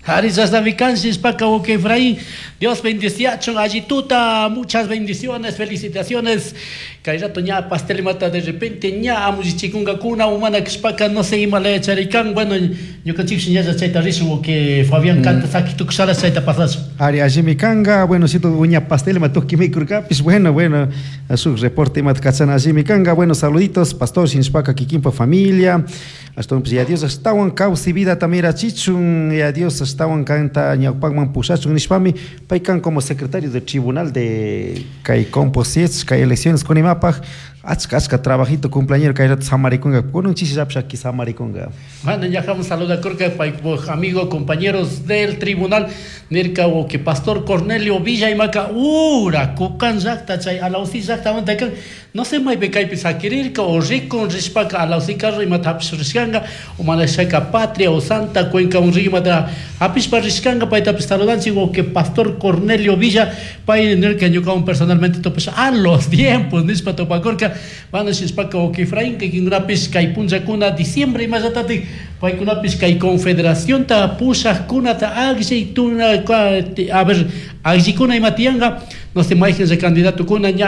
Ari chashnami paka ok Efraín. Dios bendiciachun allituta, muchas bendiciones, felicitaciones. Kay rato ña pastel mata de repente ña amuchichikunkakuna umana kashpaka no sé ima laya charikan. Bueno, ñukanchikshi ñalla chayta rishun que Fabián canta saki tukushara chayta pasashun. Ari allimi kanga, bueno, si uña pastel ma tuki mikurkapis, bueno, bueno, shuk reporte imata kachana allimi kanga, bueno, saluditos, pastor shinashpaka kikinpa familia, ashtawanpish ya Dios ashtawan kawsay vidata mirachichun, ya Dios ashtawan kanta ñawpakman pushachun nishpami, pay kan como secretario del tribunal de kay Composiets, kay elecciones kunimapaj, achka achka trabajito cumpleañero kay rato samarikunga, kunan chishillapish aki samarikunga. Bueno, ya vamos saludakurka paypuk amigo, compañeros del tribunal, nirka que pastor Cornelio Villa imaka ura kukan llakta chay alausi llaktamanta kan no sé maypi kaypi sakirirka o rikun rishpaka alausi carro imata hapish rishkanka o mana shaka Patria o Santa Cuenca un imata hapishpa rishkanka paytapish saludanchik o que pastor Cornelio Villa pay nirka ñukawan personalmente tupash a los tiempos nishpa tupakurka. Bueno, shishpaka o que Efraín kikinkunapish kay punllakuna diciembre imallatatik paykunapish kay confederacionta pushakkunata akllay tuna a ver akllikuna ima tiyanka no sé mayqin candidatokuna ña.